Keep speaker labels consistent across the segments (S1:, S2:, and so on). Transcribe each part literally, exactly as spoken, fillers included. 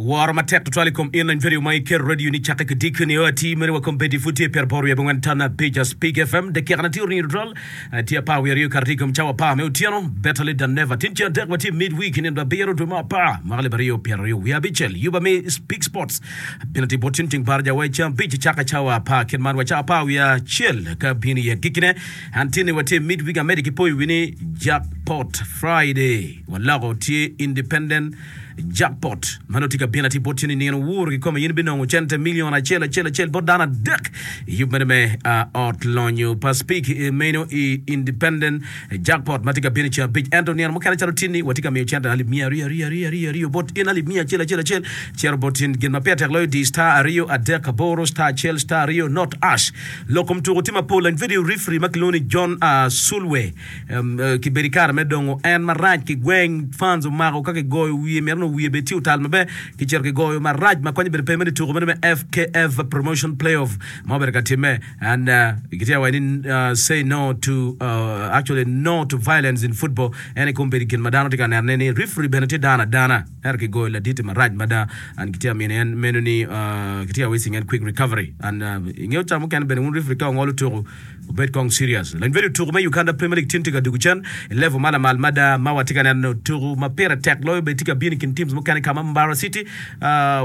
S1: Woro matek tutwal i kom in lany vedio ma iketo radio ni cakke ki diki nio ati meno wa kombeddi pud tye pyeraboro wiye abongwen tan abic Speak F M dakika na tye oringo tutwal tye apar wiye aryo kato tye i kom cawa apar me otyeno. Better late than never. Tin ceng adek watye mid week nino abiro dwe me apar mwaka alip aryo pyera aryo wiye abicel. Yuba me Speak Sports bino tye bot cen ceng baraja wa i ceng abic cakke cawa apar kit man wa cawa apar wiye acel ka bino i agikkine. An tinni watye mid week amedde ki poyo wi ni Jackpot Friday waloko tye independent Jackpot ma nongo tye ka bino atir bot tye ni nino wuro kikome in ibinongo cente million acel acel acel bot dano adek i yub meno me ot lonyo pa Speak meno i Independent Jackpot ma tye ka bino i ceng abic. Ento nino mukene calo tinni watye ka miyo cente alip miya aryo aryo aryo aryo aryo bot in alip miya acel acel acel cito bot in gin ma pire tek loyo di star aryo adek aboro star acel star aryo not ash. Lok kom tuko tye mapol lany video referee ma kilwongo ni John Sulwe Kibedo i kare me dongo en marac ki gweng, fans omako ka kigoyo wiye mito nongo wiye bed tye otal maber, kicito kigoyo marac ma konye bedo pe meno i tuko meno me F K F Promotion Playoff ma obedo ka timme and gitye ka waco ni say no to actually no to violence in football en aye kombeddi gin ma dano tye ka nenone ni referee bene tye dano adana ento kigoyo laditi marac mada and gitye ka mino en meno ni gitye ka wishing en quick recovery and ingeyo ca mukene bene wun referee ka ongolo tuko Wubed kong serious. Lony bedo tuku me Uganda Premier League tin tye ka dugu cen i level ma lamal mada ma watye ka neno tuku ma pire tek loyo bene tye ka bino i kin teams mukene ka ma Mbarara City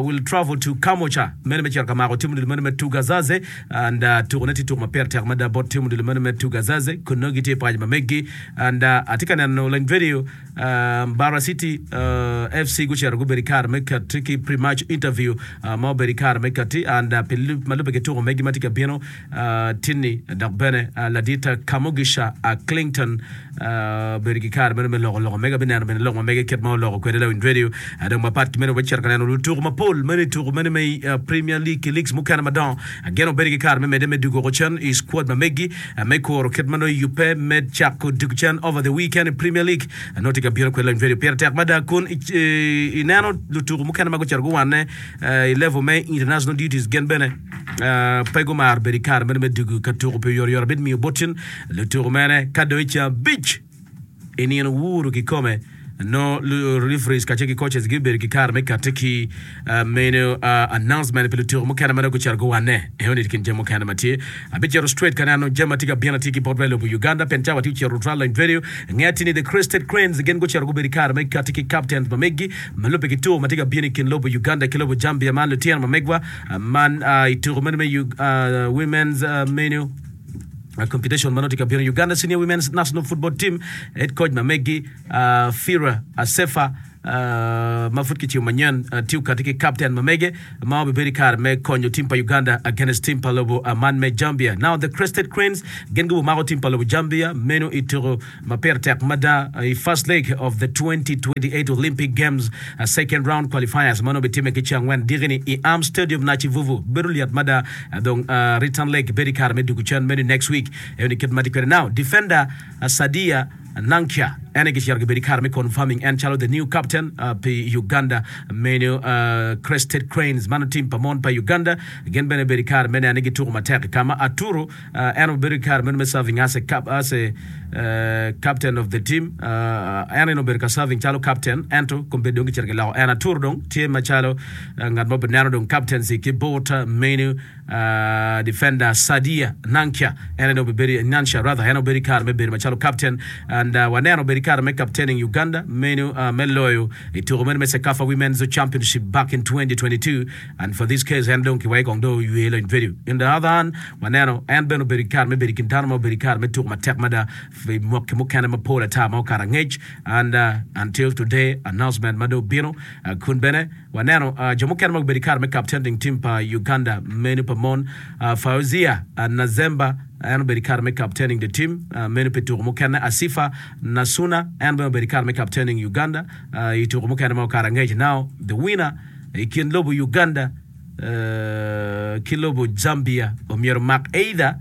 S1: will travel to Kamwokya meno me cito ka mako tim odilo meno me Tugazaze and tuku ne tye tuku ma pire tek mada bot tim odilo meno me Tugazaze kun nongo gitye i paco ma meggi and atye ka neno lony video Mbarara City F C gucito gubedo i kare me kati ki pre-match interview ma obedo i kare me kati and pi ma lubbe ki tuku megi ma tye ka bino Tinni dok bene ladit Kamugisha Clinton obedo ki kare meno me loko lok omege. Abineno bene lok ma mege kit ma oloko kwede lawiny radio. Dong mapat ki meno wacito ka neno lutuku mapol meno i tuku meno me Premier League ki leagues mukene madongo. Ageno wubedo ki kare me medde me dugo woko cen i squad ma megi me kuro kit ma nongo iyubbe me cako dugo cen over the weekend i Premier League nongo tye ka bino kwede lawiny radio. Pire tek mada kun ineno lutuku mukene ma gucito guwanne i level me international duties gin bene Pe gumaro bedo i kare meno me dugu ka tuko pi oyotoyot abit miyo botcen lutuku mene ka dong i ceng abic i nino wuru kikome nongo referees kacel ki coaches gibibedo ki kare me kati ki meno announcement pi lutuku mukene ma dong gucito guwanne. Enoni kin jami mukene ma tye. Abicito straight ka neno jami ma tye ka bino atir ki bot wa i lobo Uganda pien cawa tye ocito tutwal lony video nge atir ni The Crested Cranes gin gucito gubedo i kare me kati ki captains ma meggi ma lubbe ki tuko ma tye ka bino i kin lobo Uganda ki lobo Zambia man lutino ma megwa Man i tuko meno me Women's Menu Competition ma nongo tye ka bino Uganda Senior Women's National Football Team head coach ma megi Fira Asefa ma pud kicibo manyen tye okati ki captain ma mege ma obibedo i kare me konyo team pa Uganda against team pa lobo man me Zambia. Now the Crested Cranes gin gubimako team pa lobo Zambia meno i tuko ma pire tek mada i first leg of the twenty twenty-eight Olympic Games second round qualifiers ma nongo bitimme ki ceng angwen diki-ni i Arm Stadium Nakivubo. Bedo lyet mada dong return leg bedo i kare me dugu cen meno i next week. Eno ni kit ma tye kwede now. Defender Sadia Nankya en aye kicito gibedo i kare me confirming en calo the new captain pi Uganda meno Crested Cranes mano team pa mon pa Uganda gin bene bedo i kare me neno ni gituko matek ka ma Aturu En obedo ki kare meno me serving as a as a captain of the team. En aye obedo ka serving calo captain ento kombeddi dong kicito kiloko en atur dong tye macalo ngat ma obineno dong captaincy ki bot menu defender Sadia Nankya en aye dong obibedo Nansha rather en obedo ki kare me bedo macalo captain and waneno obedo ki kare me captaining Uganda menu me loyo i tuko meno me CECAFA Women's Championship back in twenty twenty-two and for this case en dong kiweko kong dong oywe lony vedio. In the other hand, waneno en bene obedo ki kare me bedo i kin dano ma obedo ki kare me tuko matek mada pi mwaki mukene mapol ata ma okato angec and until today announcement ma dong obino kun bene waneno jo mukene ma gubedo ki kare me captaining team pa Uganda meno pa mon Fauzia Nazemba en obedo ki kare me captaining the team meno pi tuko mukene Asifa Nasuna en bene obedo ki kare me captaining Uganda i tuko mukene ma okato angec now the winner i kin lobo Uganda ki lobo Zambia omyero omak either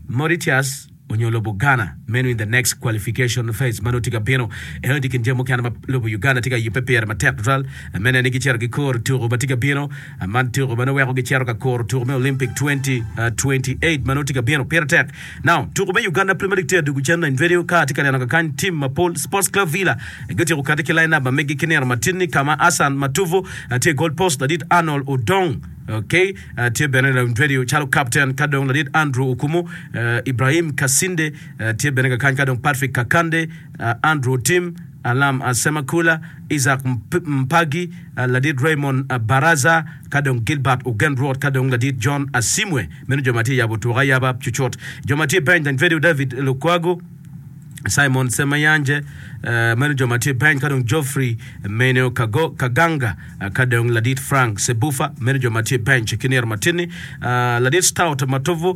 S1: Mauritius onyo lobo Ghana meno in the next qualification phase ma nongo tye ka bino. Eno tye i kin jami mukene ma lobo Uganda tye ka yubbe pire matek tutwal me neno ni gicito gikuro tuko ma tye ka bino. Man tuko ma nongo weko gicito ka kuro tuko me Olympic twenty twenty-eight ma nongo tye ka bino. Pire tek. Now, tuko me Uganda Premier League tye adwogo cen in radio ka atye ka neno kakany team mapol Sports Club Villa gutyeko kati ki line up ma megi ki nino matin-ni ka ma Hassan Matuvu tye i goal post, ladit Arnold Odong okay, tye bene in radio calo captain ka dong ladit Andrew Okumu, Ibrahim Kasinde tye bene kakany ka dong Patrick Kakande, Andrew Otim, Alam Semakula, Isaac Mpagi, ladit Raymond Baraza, ka dong Gilbert Ogen Rwot, ka dong ladit John Asimwe. Meno jo ma tye yabo tuko ayaba cucut. Jo ma tye i bench, Danvedio David Lukwago, Simon Semayanje, meno jo ma tye i bench, ka dong Geoffrey Meno Kaganga, ka dong ladit Frank Sebufa, meno jo ma tye i bench ki nino matin-ni. Ladit Stout Matovu,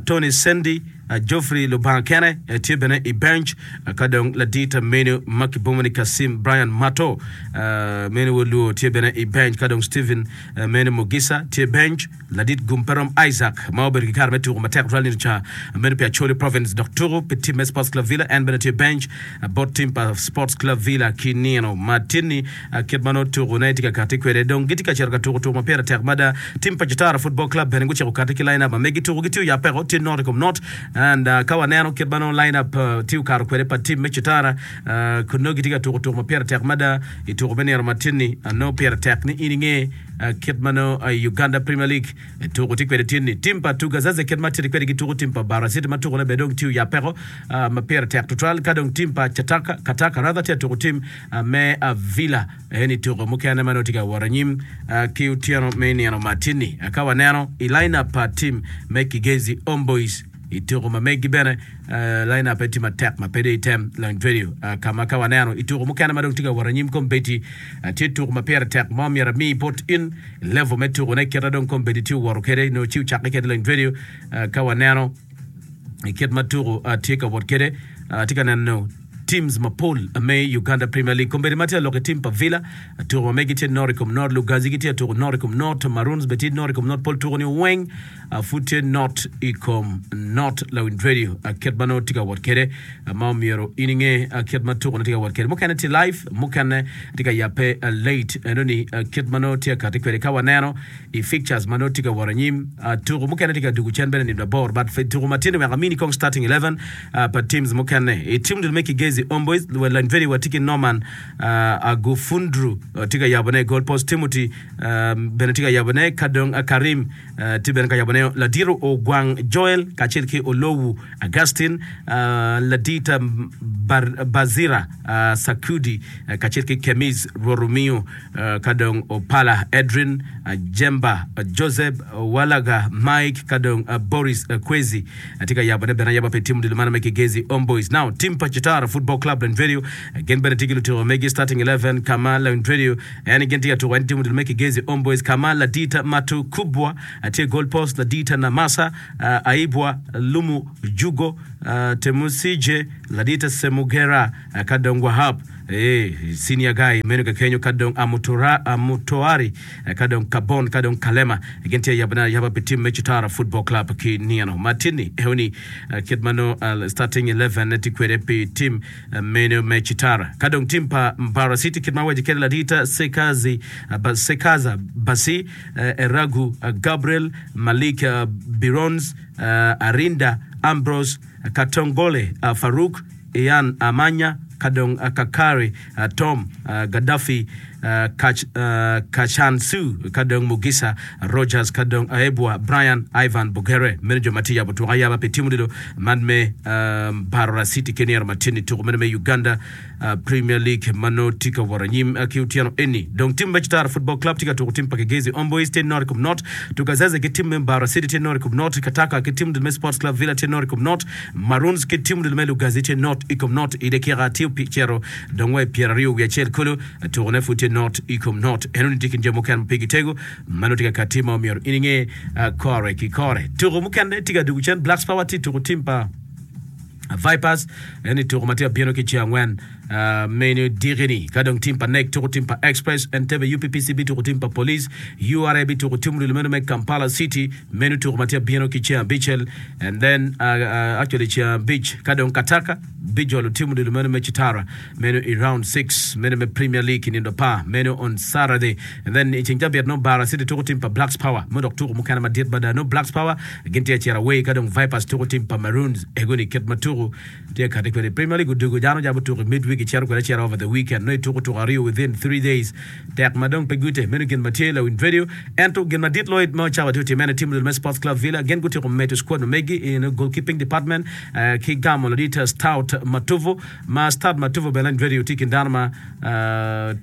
S1: Tony Sendi, Geoffrey Lubanga kene tye bene i bench, ka dong ladit meno ma kibwongo ni Kasim Brian Mato meno wod Luo tye bene i bench, ka dong Stephen meno Mugisa tye bench, ladit Gumperom Isaac ma obedo ki kare me tuko matek tutwal nino ca meno pi Acholi Province dok tuko pi tim me Sports Club Villa en bene tye bench bot tim pa Sports Club Villa ki nino ma tinni kit ma nongo tukone tye ka kati kwede dong gitye ka cito ka tuko tuko ma pire tek mada. Tim pa Kitara Football Club bene guciko kati ki line up ma megi tuko gitye oya peko tye not i kom not and uh, ka waneno kit ma nongo line up uh, tye okato kwede pa tim me Kitara uh, kun nongo gitye ka tuko tuko ma pire tek mada i tuko me nino matin-ni uh, nongo pire tek ni in inge uh, kit ma nongo uh, Uganda Premier League uh, tuko tye kwede tin-ni. Tim pa Tugazaze kit ma tye kwede gituko tim pa Bara City ma tukone bene dong tye oya peko uh, ma pire tek tutwal ka dong tim pa Chataka Kataka rather tye tuko tim uh, me uh, Villa eni tuko mukene ma nongo tye ka wot anyim uh, ki otyeno me nino matin-ni. Uh, ka waneno i line-up pa tim me Kigezi Homeboys i tuko ma megi bene uh, line-up tye matek ma pe dong item lony radio uh, ka ma ka waneno i tuko mukene ma dong tye ka wot anyim kombeddi uh, tye tuko ma pire tek ma omyero ami bot in level me tukone kite dong kombeddi tye owoto kwede nongo ci ocakke kwede lony radio uh, ka waneno i kit ma tuko uh, tye ka wot kwede uh, tye ka neno teams mapol me Uganda Premier League kombeddi ma tye alok i tim pa Villa tuko ma megi tye not i kom not Lugazi gitye tuko not i kom not Maroons bene tye not i kom not pol tuko ni weng uh, pud tye not i kom not lawin radio uh, kit ma nongo tye ka wot kwede uh, ma omyero in inge uh, kit ma tuko tye ka wot kwede mukene tye live mukene tye ka yabe uh, late eno ni uh, kit ma nongo tye ka kati kwede ka waneno i fixtures ma nongo tye ka wot anyim uh, tuko mukene tye ka dugo cen bene nino abor but tuko ma tye ni wek amini kong starting eleven uh, pa teams mukene i team dul me Kigezi Homeboys lany very watye ki Norman uh, Agufundru uh, tye ka yabone goal post Timothy uh, bene tye ka yabone ka dong uh, Karim uh, tye bene ka yabone Ladiro Ogwang Joel kacel ki Olowu Augustine uh, Ladita Bar Bazira uh, Sakudi uh, kacel ki Kemiz Roromio uh, ka dong Opala Edrin uh, Jemba uh, Joseph uh, Walaga Mike ka dong uh, Boris uh, Kwezi uh, tye ka yabone bene ayaba pi team dul man me Kigezi Homeboys. Now team pa Kitara Football Club lany radio gin bene tye ki lutuko megi starting eleven kama lany radio en gin tye ka tuko en team dul me Kigezi Homeboys kama Ladita Matu Kubwa tye goal post Ladita Namasa uh, Aibwa Lumu Jugo uh, Temusije Ladita Semugera uh, ka dong Wahab eh, senior guy meno ka kenyo ka dong Amutora, Amutoari uh, ka dong Kabon ka dong Kalema gin tye yabana yaba pi team me Kitara Football Club ki nino matini eoni uh, kit mano uh, starting eleven tye kwede pi team uh, meno me Kitara ka dong team pa Mbara City kit ma waci kede Ladita Sekazi uh, ba, Sekaza Basi uh, Eragu uh, Gabriel Malik uh, Birons uh, Arinda Ambrose uh, Katongole uh, Farouk Ian Amanya Kadong uh, Kakari uh, Tom uh, Gaddafi uh, Kach, uh, Kachansu Kadong Mugisa Rogers Kadong Aebwa Brian Ivan Bugere meno jo ma tye yabo tuko ayaba pi tim odilo man me um, Barora City ki nino matini tuko meno me Uganda uh, Premier League mano tye ka wot anyim uh, ki otyeno eni dong tim me Kitara Football Club tye ka tuko tim pa Kigezi Homeboys tye not i kom not Tugazaze ki tim me Barora City tye not i kom not Kataka ki tim me Sports Club Villa tye not i kom not Maroons ki tim me Lugazi tye not i kom not i dakika tye pi cero dong wa i pyeraryo wiye acel kulu tukone pud tye not i kom not eno ni tye kin jo mukene ma pe gitego mano tye ka kati ma omyero in inge uh, kore ki kore tuko mukene tye ka dugo cen Blacks Power tye tuko tim pa Vipers eni tuko ma tye abino ki ceng angwen Meno diki-ni, ka dong tim pa N E C tuko tim pa Express, Entebbe U P P C bituko tim pa Police, U R A bituko tim odilo meno me Kampala City, meno tuko ma tye abino ki ceng abicel, and then actually ceng abic, ka dong Kataka bijolo tim odilo meno me Kitara, meno i round six meno me Premier League i nindo apar, meno on Saturday, and then i ceng cabit nongo Bara City tuko tim pa Blacks Power, meno dok tuko mukene madit mada, nongo Blacks Power gin tye ka cito away, ka dong Vipers tuko tim pa Maroons, ego-ni kit ma tuko Tye kati kwede i Premier League odugo dano jabo tuko i midweek icito kwede acita over the weekend nongo ituko tuko aryo within three days tek ma dong pe gute meno gin ma tye lawiny radio ento gin madit loyo ma cawa tye otime ene team me Sports Club Villa gin gutyeko medo squad ma megi in goalkeeping department ki gamo ladit Stout Matovu ma Stout Matovu bene lawiny radio tye i kin dano ma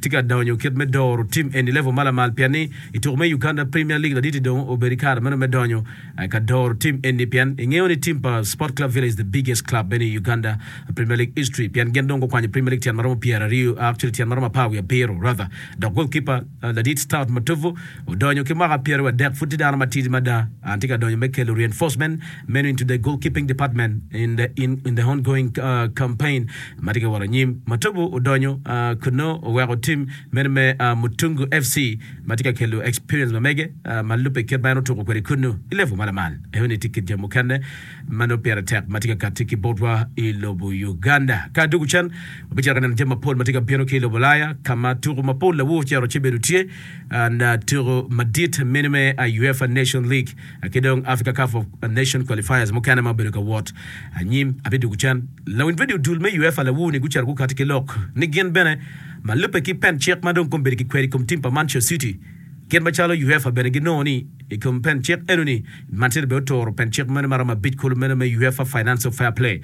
S1: tye ka donyo kit me doro team eni level ma lamal pien ni i tuko me Uganda Premier League laditi dong obedo i kare meno me donyo ka doro team eni pien ingeyo ni team pa Sport Club Villa is the biggest club bene i Uganda Premier League history pien gin dong gukwanyo Premier League tyen maromo pyera aryo actually tyen maromo apar wiye abiro rather dok goalkeeper ladit Stout Matovu odonyo ki mwaka pyeraryo adek pud tye dano matidi mada and tye ka donyo me kelo reinforcement meno into the goalkeeping department in the in, in the ongoing uh, campaign ma tye ka wot anyim. Matovu odonyo uh, kuno oweko team meno me uh, Mutungu F C ma tye ka kelo experience ma mege ma lubbe kit ma en otuko kwede kunnu i level ma lamal. Enoni tye kit jami mukene ma nongo pire tek ma tye ka katti ki botwa i lobo Uganda. Ka adwogo cen, wabicito ka neno jami mapol ma tye ka bino ki i lobo Ulaya ka ma tuko mapol lawor ocito ci bedo tye and tuko madit meno me UEFA Nation League ki dong Africa Cup of Nation qualifiers mukene ma obedo ka wot anyim. Abidwogo cen. Lawiny radio dul me UEFA lawor-ni gucito gukatti ki lok ni gin bene Ma lubbe ki pen cik ma dong kombeddi kikwero i kom tim pa Manchester City, kit macalo UEFA bene ginongo ni i kom pen cik enoni, Man City bene oturo pen cik meno maromo abic kulu meno me UEFA Financial Fair Play.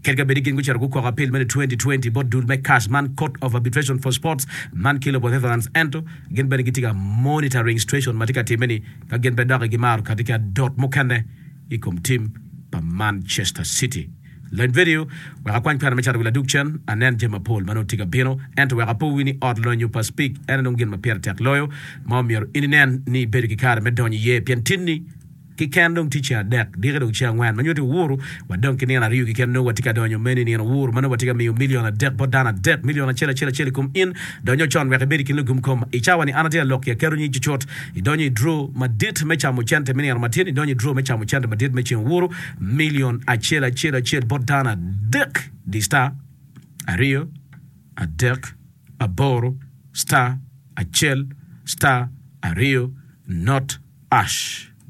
S1: Kadi ka bed ni gin gucito gukoko apil meno i twenty twenty bot dul me C A S man Court of Arbitration for Sports man ki lobo Netherlands ento gin bene gitye ka monitoring situation ma tye ka timme-ni ka gin pe doki gimaro kati ki adot mukene i kom tim pa Manchester City. Lony vidio wek akwany kwena me cato wi ladug cen, anen jami mapol ma nongo tye ka bino. Ento wek apo wi ni ot lonyo pa Speke en aye dong gin ma pire tek loyo ma omyero in inen ni ibedo ki kare me donyo iye pien tinni keken dong tye ceng adek diki dong ceng angwen ma nyuto owuru wadong ki nino aryo keken nongo watye ka donyo meno i nino owuru ma nongo watye ka miyo milion adek bot dano adek milion acel acel acel i kom in donyo con wek ibed i kin lugum kom i cawa ni an atye ka lok ki aketo nying cucut idonyo i draw madit me camo cente me nino matin idonyo i draw me camo cente madit me ceng owuru Milion acel acel acel bot dano adek di star aryo adek aboro star acel star aryo not ash.